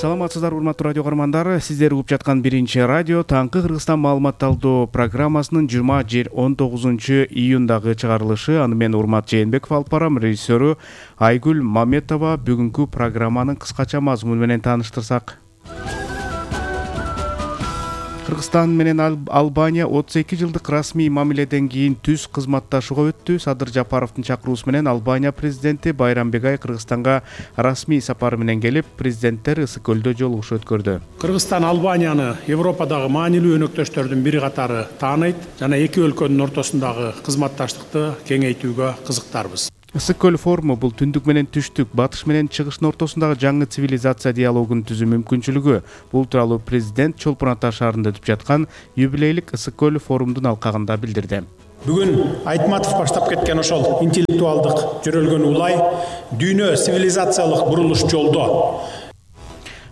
Саламатсыздар, урматтуу радио каармандар. Сиздер угуп жаткан биринчи радио таңкы Кыргызстан маалымат алуу программасынын 19 июндагы чыгарылышы. Аны мен Урмат Жээнбеков алып барам. Режиссеру Айгүл Маметова. Бүгүнкү программанын кыскача мазмуну менен тааныштырсак. Кыргызстан менен Албания 32 жылдык расмий мамиледен кийин түз кызматташууга өттү. Садыр Жапаровдун чакыруусу менен Албания президенти Байрамбек Ай Кыргызстанга расмий сапары менен келип, президенттер Ысык көлдө жолугушуу өткөрдү. Кыргызстан Албанияны Европадагы маанилүү өнөктөштөрдүн бири катары тааныйт жана эки өлкөнүн ортосундагы кызматташтыкты кеңейтүүгө кызыктарбыз. Ысык көл форуму бул түндүк менен түштүк, батыш менен чыгыштын ортосундагы жаңы цивилизация диалогун түзүү мүмкүнчүлүгү. Бул тууралуу президент Чолпон Ата шаарында өтүп жаткан юбилейлик Ысык көл форумдун алкагында билдирди. Бүгүн Айтматов баштап кеткен ошол интеллектуалдык жөрөлгөн улай дүйнө цивилизациялык бурулуш жолдо.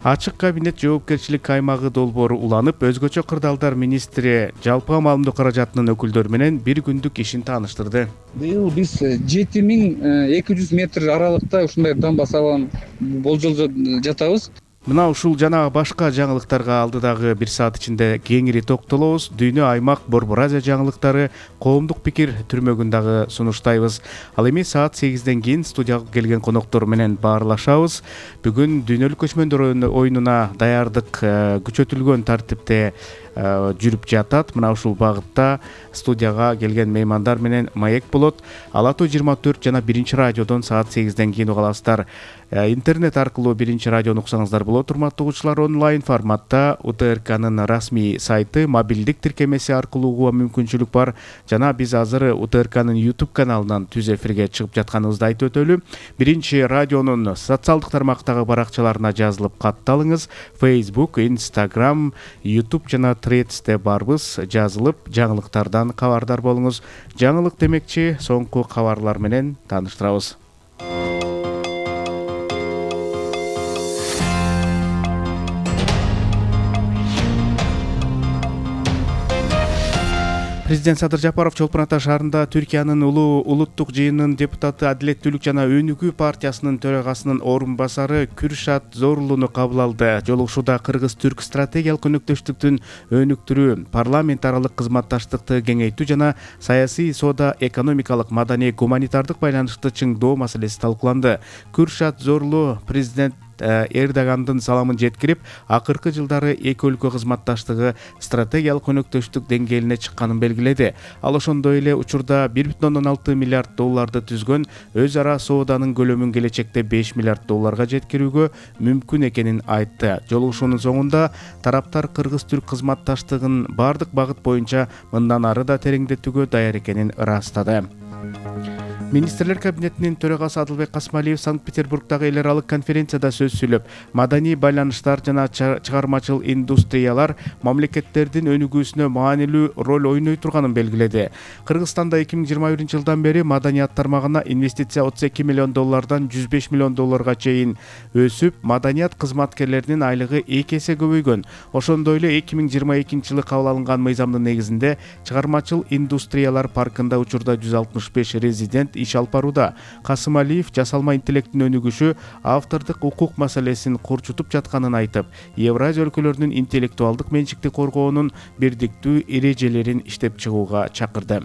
Ачык кабинет жоопкерчилик аймагы долбоору уланып, өзгөчө кырдаалдар министри жалпыга маалымдоо каражатынын өкүлдөрү менен бир күндүк ишин тааныштырды. Быйыл биз 7200 метр аралыкта ушундай дамба салган болжолдо жатабыз. Мына ушул жана башка жаңылыктарга алдыдагы бир саат ичинде кеңири токтолобуз. Дүйнө, аймак, Борбор Азия жаңылыктары, коомдук пикир түрмөгүн дагы сунуштайбыз. Ал эми саат 8ден кийин студияга келген коноктор менен баарлашабыз. Бүгүн дүйнөлүк көчмөндөр оюнуна даярдык күчөтүлгөн тартипте жүрүп жатат. Мына ушул багытта студияга келген меймандар менен маек болот. Ала Тоо 24 жана биринчи радиодон саат 8ден кийин уга аласыздар. Интернет аркылуу биринчи радиону уксаңыздар болот. Урматтуу угуучулар, онлайн форматта УТРКнын расмий сайты, мобилдик тиркемеси аркылуу угууга мүмкүнчүлүк бар. Жана биз азыр УТРКнын YouTube каналынан түз эфирге чыгып жатканыбызды айтып өтөлү. Биринчи радионун социалдык тармактагы баракчаларына жазылып катталыңыз. Facebook, Instagram, YouTube жана Threads'те барбыз. Жазылып, жаңылыктардан кабардар болуңуз. Жаңылык демекчи, соңку кабарлар менен тааныштырабыз. Президент Садыр Жапаров Чолпон Ата шаарында Түркиянын улуттук жыйынынын депутаты, Адилеттүүлүк жана Өнүгүү партиясынын төрагасынын орун басары Күршат Зорулууну кабыл алды. Жолугушууда кыргыз-түрк стратегиялык өнөктөштүктүн өнүктүрүү, парламент аралык кызматташтыкты кеңейтүү жана саясий, соода, экономикалык, маданий, гуманитардык байланышты чыңдоо маселеси талкууланды. Күршат Зорулуу президент Эрдогандын саламын жеткирип, акыркы жылдары эки өлкө кызматташтыгы стратегиялык өнөктөштүк деңгээлине чыкканын белгиледи. Ал ошондой эле учурда 1,6 миллиард долларды түзгөн өз ара сооданын көлөмүн келечекте 5 миллиард долларга жеткирүүгө мүмкүн экенин айтты. Жолугушуунун соңунда тараптар кыргыз-түрк кызматташтыгын бардык багыт боюнча мындан ары да тереңдетүүгө даяр экенин ырастады. Министрлер кабинетинин төрагасы Адылбек Касмалиев Санкт-Петербургдагы эл аралык конференцияда сөз сүйлөп, маданий байланыштар жана чыгармачыл индустриялар мамлекеттердин өнүгүүсүнө маанилүү роль ойной турганын белгиледи. Кыргызстанда 2021-жылдан бери маданият тармагына инвестиция 32 миллион доллардан 105 миллион долларга чейин өсүп, маданият кызматкерлеринин айлыгы 2 эсе көбөйгөн. Ошондой эле 2022-жылы кабыл алынган мыйзамдын негизинде чыгармачыл индустриялар паркында учурда 165 резидент иш алып барууда. Касымалиев жасалма интеллекттин өнүгүшү автордук укук маселесин курчутуп жатканын айтып, Евразия өлкөлөрүнүн интеллектуалдык менчикти коргоонун бирдиктүү эрежелерин иштеп чыгууга чакырды.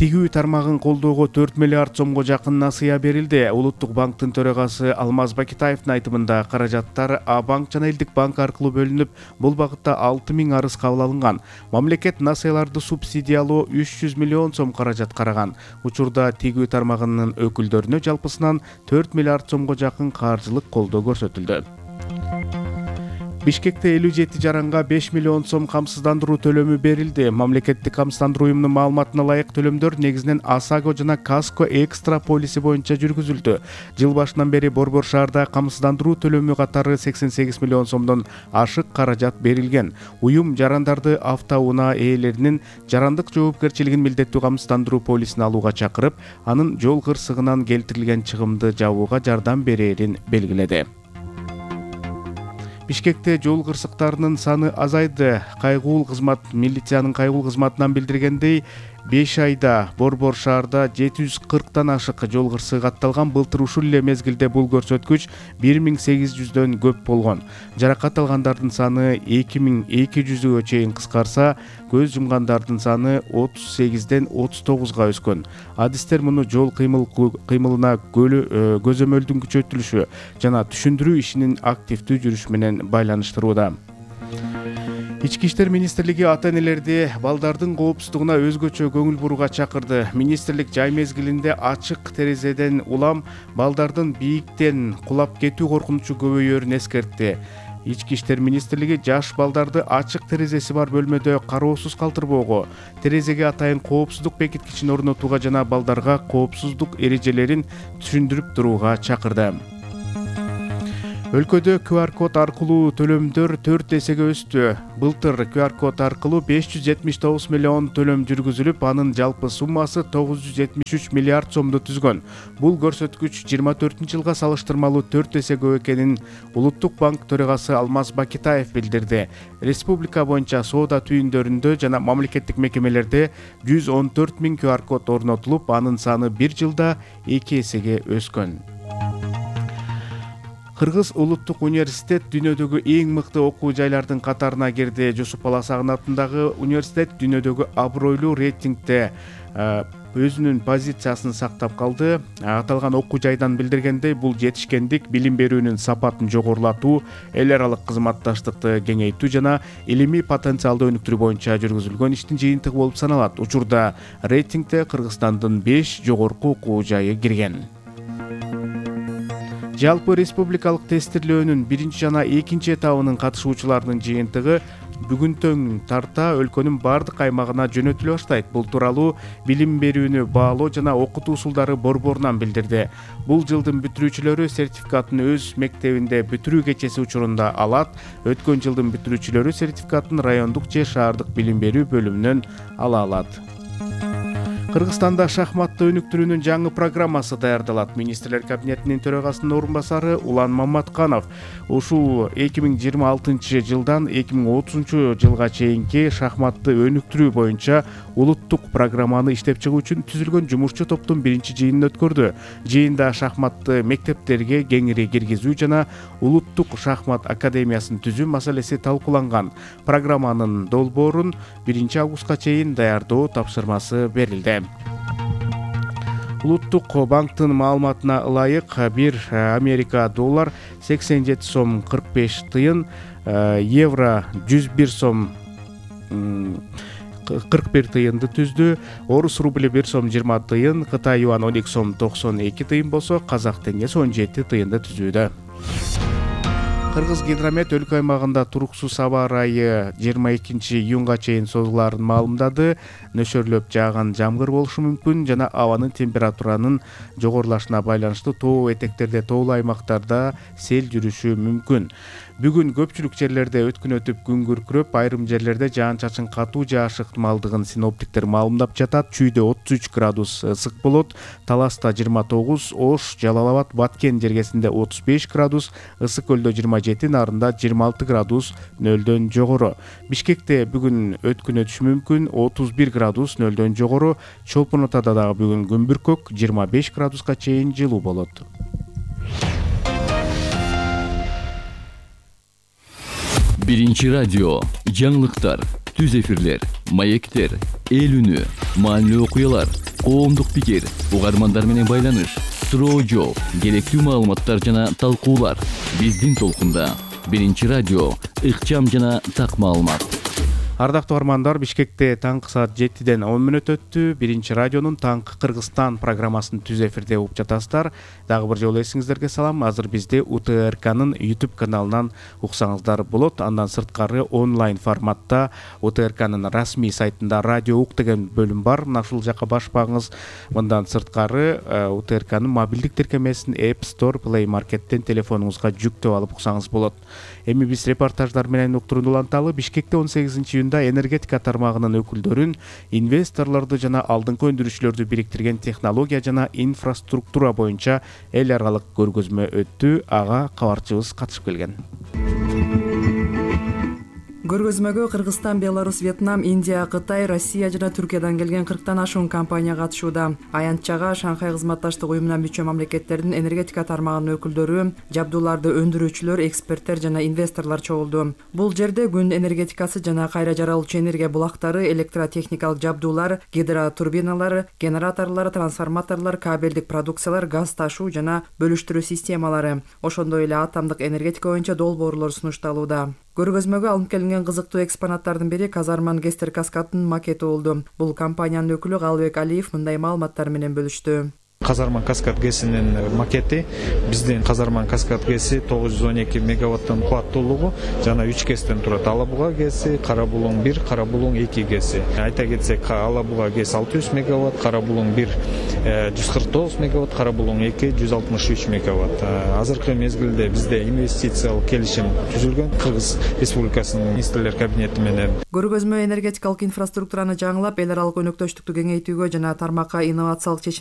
Тигүү тармагын колдоого 4 миллиард сомго жакын насыя берилди. Улуттук банктын төрагасы Алмаз Бакитаевдин айтымында каражаттар А-банк жана Элдик банк аркылуу бөлүнүп, бул багытта 6000 арыз кабыл алынган. Мамлекет насыяларды субсидиялоо 300 миллион сом каражат караган. Учурда тигүү тармагынын өкүлдөрүнө жалпысынан 4 миллиард сомго жакын каржылык колдоо көрсөтүлдү. Бишкекте 57 жаранга 5 миллион сом камсыздандыруу төлөмү берилди. Мамлекеттик камсыздандыруу уюмунун маалыматына ылайык төлөмдөр негизинен АСАГО жана Каско экстра полиси боюнча жүргүзүлдү. Жыл башынан бери Борбор шаарда камсыздандыруу төлөмү катары 88 миллион сомдон ашык каражат берилген. Уюм жарандарды автоунаа ээлеринин жарандык жоопкерчилигин милдеттүү камсыздандыруу полисине алууга чакырып, анын жол кырсыгынан келтирилген чыгымды жабууга жардам берерин белгиледи. Бишкекте жол кырсыктарынын саны азайды. Кайгуул кызмат милициянын кайгуул кызматынан билдиргендей, 5 айда Борбор шаарда 740 ашык жол кырсыгы катталган. Былтыр ушул эле мезгилде бул көрсөткүч 1800дөн көп болгон. Жаракат алгандардын саны 2200гө чейин кыскарса, көз жумгандардын саны 38ден 39га өскөн. Адистер муну жол кыймылына көзөмөлдүн күчөтүлүшү жана түшүндүрүү ишинин активдүү жүрүшү менен байланыштырууда. Ички иштер министрлиги ата-энелерди балдардын коопсуздугуна өзгөчө көңүл бурууга чакырды. Министрлик жай мезгилинде ачык терезеден улам балдардын бийиктен кулап кетүү коркунучу көбөйөрүн эскертти. Ички иштер министрлиги жаш балдарды ачык терезеси бар бөлмөдө кароосуз калтырбоого, терезеге атайын коопсуздук бекиткичин орнотууга жана балдарга коопсуздук эрежелерин түшүндүрүп турууга чакырды. Өлкөдө QR код аркылуу төлөмдөр 4 эсеге өстү. Былтыр QR код аркылуу 579 миллион төлөм жүргүзүлүп, анын жалпы суммасы 973 миллиард сомду түзгөн. Бул көрсөткүч 24-жылга салыштырмалуу 4 эсе көп экенин Улуттук банк төрагасы Алмаз Бакитаев билдирди. Республика боюнча соода түйүндөрүндө жана мамлекеттик мекемелерде 114 000 QR код орнотулуп, анын саны бир жылда 2 эсеге өскөн. Кыргыз улуттук университет дүйнөдөгү эң мыкты окуу жайлардын катарына кирди. Жусуп Баласагын атындагы университет дүйнөдөгү абройлуу рейтингде өзүнүн позициясын сактап калды. Аталган окуу жайдан билдиргендей, бул жетишкендик билим берүүнүн сапатын жогорулатуу, эл аралык кызматташтыкты кеңейтүү жана илимий потенциалды өнүктүрүү боюнча жүргүзүлгөн иштин жыйынтыгы болуп саналат. Учурда рейтингде Кыргызстандын 5 жогорку окуу жайы кирген. Жалпы республикалык тестирлөөнүн 1 жана 2 этабынын катышуучуларынын жыйынтыгы бүгүнтөн тарта өлкөнүн бардык аймагына жөнөтүлө баштайт. Бул тууралуу билим берүүнү баалоо жана окутуу усулдары борборунан билдирди. Бул жылдын бүтүрүүчүлөрү сертификатын өз мектебинде бүтүрүү кечеси учурунда алат. Өткөн жылдын бүтүрүүчүлөрү сертификатын райондук же шаардык билим берүү бөлүмүнөн ала алат. Кыргызстанда шахматты өнүктүрүүнүн жаңы программасы даярдалат. Министрлер кабинетинин төрагасынын орун басары Улан Маматканов ушул 2026 жылдан 2030 жылга чейинки шахматты өнүктүрүү боюнча улуттук программаны иштеп чыгуу үчүн түзүлгөн жумушчу топтун 1-жыйынын өткөрдү. Жыйында шахматты мектептерге кеңири киргизүү жана улуттук шахмат академиясын түзүү маселеси талкууланган. Программанын долбоорун 1 августка чейин даярдоо тапшырмасы берилди. Улуттук банктын маалыматына ылайык 1 Америка доллар 87 сом 45 тыйын, евро 101 сом 41 тыйынды түздү, орус рубли 1 сом 20 тыйын, Кытай юан 12 сом 92 тыйын болсо, казак теңгеси 17 тыйынды түзүүдө. Кыргыз гидромет өлкө аймагында туруксуз аба ырайы 22 июнга чейин созулаарын маалымдады. Нөшөрлөп жааган жамгыр болушу мүмкүн жана абанын температуранын жогорулашына байланыштуу тоо этектерде, тоолуу аймактарда сел жүрүшү мүмкүн. Бүгүн көпчүлүк жерлерде өткүн өтүп күн күркүрөп, айрым жерлерде жаан-чачын катуу жаашы ыктымалдыгын синоптиктер маалымдап жатат. Чүйдө 33 градус ысык болот, Таласта 29, Ош, Жалал Абад, Баткен жергесинде 35 градус, Ысык көлдө 27, Нарында 26 градус нөлдөн жогору. Бишкекте бүгүн өткүн өтүшү мүмкүн, 31 градус нөлдөн жогору. Чолпон Атада дагы бүгүн күн бүркөк, 25 градуска чейин жылуу болот. Биринчи радио, жаңылыктар, түз эфирлер, маектер, эл үнү, маанилүү окуялар, коомдук пикир, угармандар менен байланыш, суроо жооп, керектүү маалыматтар жана талкуулар. Биздин толкунда. Биринчи радио, ыкчам жана так маалымат. Ардактуу угармандар, Бишкекте таңкы саат 7-ден 10 мүнөт өттү. Биринчи радионун Таңкы Кыргызстан программасын түз эфирде угуп жатасыздар. Дагы бир жолу эсиңиздерге салам. Азыр бизди УТРКнын YouTube каналынан уксаңыздар болот. Андан сырткары онлайн форматта УТРКнын расмий сайтында радио ук деген бөлүм бар. Мына ушул жака башпаңыз. Мындан сырткары УТРКнын мобилдик тиркемесин App Store, Play Market'тен телефонуңузга жүктөп алып уксаңыз болот. Эми биз репортаждар менен уктурууну уланталы. Бишкекте 18 энергетика тармагынын өкүлдөрүн, инвесторлорду жана алдыңкы өндүрүүчүлөрдү бириктирген технология жана инфраструктура боюнча эл аралык көргөзмө өттү. Ага кабарчыбыз катышып келген. Көргөзмөгө Кыргызстан, Беларусь, Вьетнам, Индия, Кытай, Россия жана Түркиядан келген 40тан ашуун компания катышууда. Аянтчага Шанхай кызматташтык уюмуна мүчө мамлекеттердин энергетика тармагынын өкүлдөрү, жабдууларды өндүрүүчүлөр, эксперттер жана инвесторлор чогулду. Бул жерде күн энергетикасы жана кайра жаралуучу энергия булактары, электротехникалык жабдуулар, гидротурбиналар, генераторлор, трансформаторлор, кабелдик продукциялар, газ ташуу жана бөлүштүрүү системалары, ошондой эле атомдук энергетика боюнча долбоорлор сунушталууда. Көргөзмөгө алынып келинген кызыктуу экспонаттардын бири Казарман Гестер каскадынын макети болду. Бул компаниянын өкүлү Калыбек Алиев мындай маалыматтар менен бөлүштү. Казарман каскад гэсинин макети биздин Казарман каскад гэси 912 мегаваттын кубаттуулугу жана 3 гэстен турат. Ала буга гэси, Кара Булуң 1, Кара Булуң 2 гэси. Айта кетсек, Ала буга гэс 600 мегаватт, Кара Булуң 1 149 мегаватт, Кара Булуң 2 163 мегаватт. Азыркы мезгилде бизде инвестициялык келишим түзүлгөн Кыргыз Республикасынын министрлер кабинети менен. Көргөзмө энергетикалык инфраструктураны жаңылап, эл аралык өнөктөштүктү кеңейтүүгө жана тармакка инновациялык